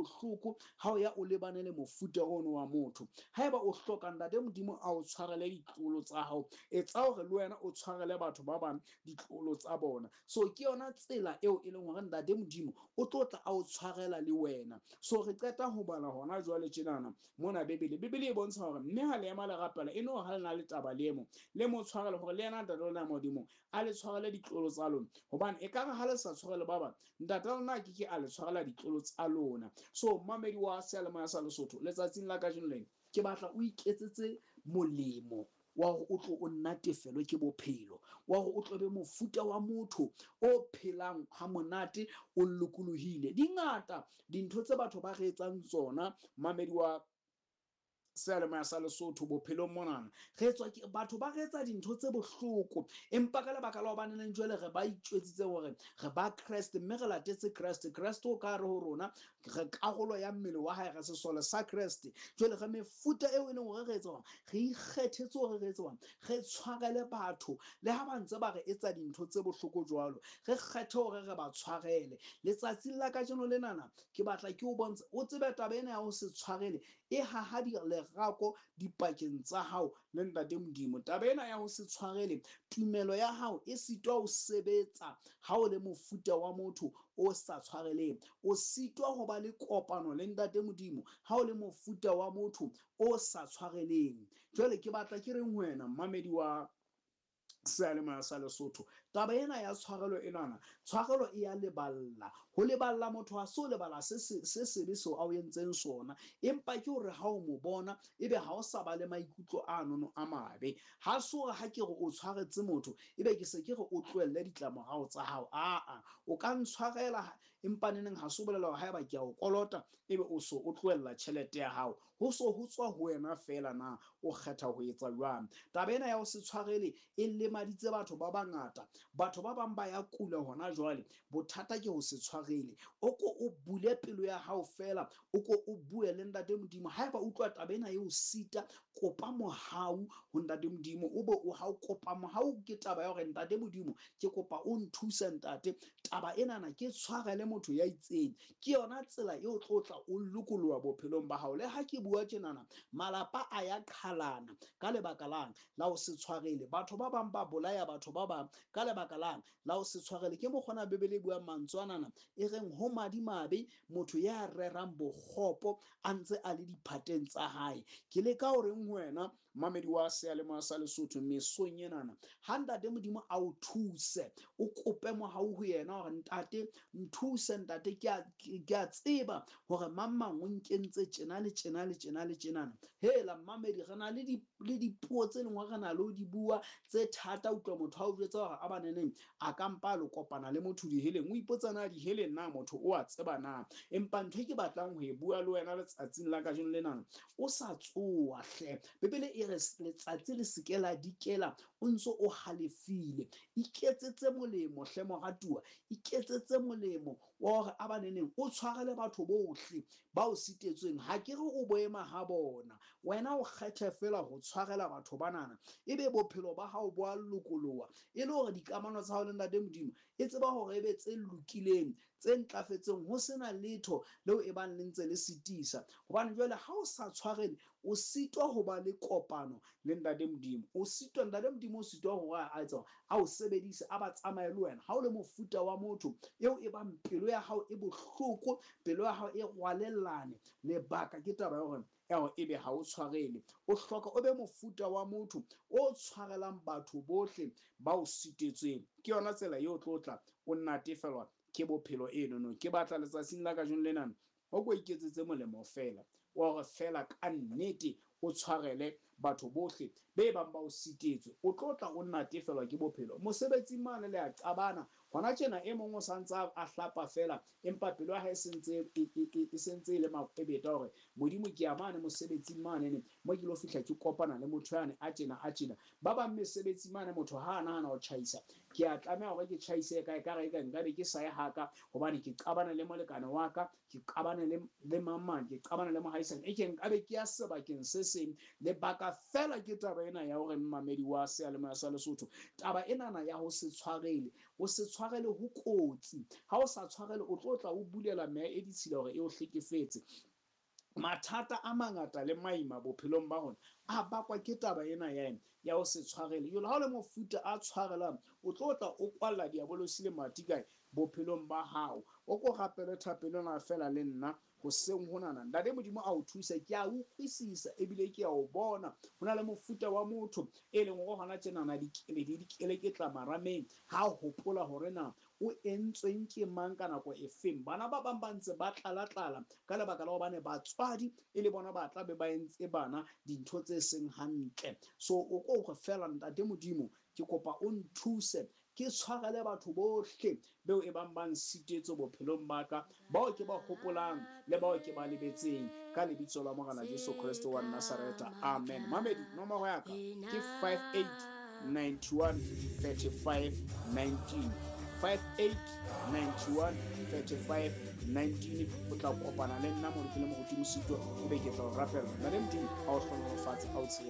bohloko ha o ya o lebane le mofuta ono wa motho. Haeba o hloka Ntate Modimo a o tshwarele ditlolo tsa hao, etsa hore le wena o tshwarele batho ba bang ditlolo tsa bona. So ke yona tsela eo e leng hore Ntate Modimo o tlo tla a o tshwarela le wena. So re qeta ho bala hona jwale tjenana mona Bibele. Bibele e bontsha hore mme ha le ema le rapela, e no ha le na le taba le emo, le mo tshwarele hore le yena Ntate lona Modimo a le tshwarele ditlolo tsa lona. Hobane ekare ha le sa tshwarele ba bang, Ntate lona a ke ke a le tshwarela ditlolo tsa lona. So mmamedi wa seyalemoya sa Lesotho, letsatsing la kajeno lena ke batla o iketsetse molemo wa hore o tlo o natefelwe ke bophelo, wa hore o tlo be mofuta wa motho o phelang ha monate, o lokolohile. Di ngata dintho tse batho ba re etsang tsona, mmamedi wa seyalemoya sa Lesotho, bophelong monana re etswa ke batho ba re etsa dintho tse bohloko, empa ka lebaka la hobane neng jwale re ba itjwetsitse hore re ba Kreste mme re latetse Kreste, Kreste o ka re ho rona re karolo ya mmele wa hae, re sesole sa Kreste. Jwale re mefuta eo e leng hore re etsa hore re ikgethetse hore re etsa hore re tshwarele batho le ha ba ntse ba re etsa dintho tse bohloko jwalo, re kgethe hore re ba tshwarele. Letsatsing la kajeno lenana ke batla ke o bontshe, o tsebe taba ena ya ho se tshwarele e haha lerako dipakeng tsa hao le Ntate Modimo. Taba ena ya ho se tshwarele, tumelo ya hao e sitwa ho sebetsa ha o le mofuta wa motho o sa tshwareleng. O sitwa ho ba le kopano le Ntate Modimo ha o le mofuta wa motho o sa tshwareleng. Jwale ke batla ke reng ho wena, mmamedi wa seyalemoya sa Lesotho, taba ena ya tshwarelo enana, tshwarelo e ya leballa. Ho leballa motho ha se o lebala se sebe seo a o entseng sona, empa ke hore ha o mo bona ebe ha o sa ba le maikutlo a nono a mabe. Ha se hore ha ke re o tshwaretse motho ebe ke se ke re o tlohelle ditlamorao tsa hao. Aa, o ka ntshwarela, empa neneng ha se o bolela hore haeba ke a o kolota ebe o so o tlohella tjhelete ya hao. Ho so ho tswa ho wena feela na o kgetha ho etsa jwang. Taba ena ya ho se tshwarele e lemaditse batho ba bangata. Batho ba bang ba ya kula hona jwale, bothata ke ho se tshwarele. O ko o bule pelo ya hao feela, o ko o bue le Ntate Modimo. Haeba utlwa taba ena e o sita, kopa mohau ho Ntate Modimo. O be o ha o kopa mohau ke taba ya hore Ntate Modimo, ke kopa o nthuse Ntate, taba enana ke tshwarele motho ya itseng. Ke yona tsela eo tlo tla o lokoloha bophelong ba hao. Le ha ke bua tjenana, malapa a ya qhalana ka lebaka lang la ho se tshwarele. Batho ba bang ba bolaya batho ba bang ka lebaka lang la ho se tshwarele. Ke mokgona Bibele e buang mantswe anana e reng ho madimabe motho ya rerang bokgopo a ntse a le diphateng tsa hae. Ke leka ho reng ho wena, mamedi wa seyalemoya sa Lesotho, mesong enana, ha Ntate Modimo a o thuse, o kope mohau ho yena hore Ntate nthuse, Ntate ke a tseba hore mang mang o nkentse tjena le tjena le tjena le tjenana. Hela mmamedi, re na le dipuo tse leng hore re na le ho di bua tse thata. Utlwa motho a o jwetsa hore a baneneng a ka mpa a lo kopana le motho diheleng. O ipotsa na diheleng na motho o a tseba na? Empa ntho e ke batlang ho e bua le wena letsatsing la kajeno lenana, o sa tsoa hle. Bibele e re letsatsi le se ke la dikela o ntse o halefile. Iketsetse molemo hle moratuwa, iketsetse molemo wa hore a baneneng o tshwarele batho bohle ba o sitetsweng. Ha ke re o boema ha bona, wena o kgethe feela ho tshwarela batho banana, ebe bophelo ba hao bo a lokoloha, e le hore dikamano tsa hao le Ntate Modimo e tseba hore e be tse lokileng, tse ntlafetseng, ho sena letho leo e bang le ntse le sitisa. Hobane jwale ha o sa tshwarele, o sitwa ho ba le kopano le Ntate Modimo. O sitwa, Ntate Modimo o sitwa hore a etsa a o sebedise, a ba tsamaye le wena. Ha o le mofuta wa motho eo e bang pelo ya hao e bohloko, pelo ya hao e rwalellane, lebaka ke taba ya hore eo ebe ha o tshwarele. O hloka o be mofuta wa motho o tshwarelang batho bohle ba o sitetsweng. Ke yona tsela eo tlo tla o natefelwa ke bophelo enono. Ke batla letsatsing la kajeno lena o ko iketsetse molemo feela wa hore feela ka nnete o tshwarele batho bohle be bang ba o sitetswe. O tlo tla o natefelwa ke bophelo. Mosebetsing mane le a qabana hona tjena, e mong o santse a hlapa feela, empa pelo ya hae e sentse e le makwebeta hore Modimo ke ya mane mosebetsing mane ne mo ke lo fihla ke kopana le motho yane a tjena a tjena. Ba bang mesebetsi mane motho ha a nahana ho tjhaisa, ke a tlameha hore ke tjhaise kae ka re ka nkabe ke sa ye haka hobane ke qabana le molekane wa ka, ke qabane le mang mang, ke qabana le mohaisane, e ke nkabe ke ya sebakeng se seng. Lebaka fela ke taba ena ya hore mmamedi wa seyalemoya sa Lesotho, taba enana ya ho se tshwarele, ho se tshwarele ho kotsi. Ha o sa tshwarele, o tlo tla o bulela meya e ditshila hore e o hlekefetse. Mathata a mangata le maima bophelong ba rona a bakwa ke taba ena ya ya ho se tshwarele. Jwale ha o le mofuta a tshwarelang, o tlo tla o kwalla diabolosi le mati kae bophelong ba hao. O ko rapele thapelo ena feela le nna hoseng honana. Ntate Modimo a o thuse, ke a utlwisisa ebile ke a o bona. Ho na le mofuta wa motho e leng hore hona tjenana dikeledi di keleketla marameng ha hopola hore na o entsweng ke mang ka nako efeng. Bana ba bang ba ntse ba tlala-tlala ka lebaka la hobane batswadi e le bona ba tla be ba entse bana dintho tse seng hantle. So o ko hore feela, Ntate Modimo, ke kopa o nthuse ke tshwarele batho bohle beo e bang ba nsitetse bophelong ba ka, bao ke ba hopolang le bao ke ba lebetseng, ka lebitso la Morena Jesu Kreste wa Nazareta, amen. Mamedi, nomoro ya ka ke 58 91 35 19, 58 91 35 19. O tla kopana le nna mo ke le moruti Mosito, ebe ke tla o rapella. Ntate Modimo a o hlohonolofatse, a o tshireletse.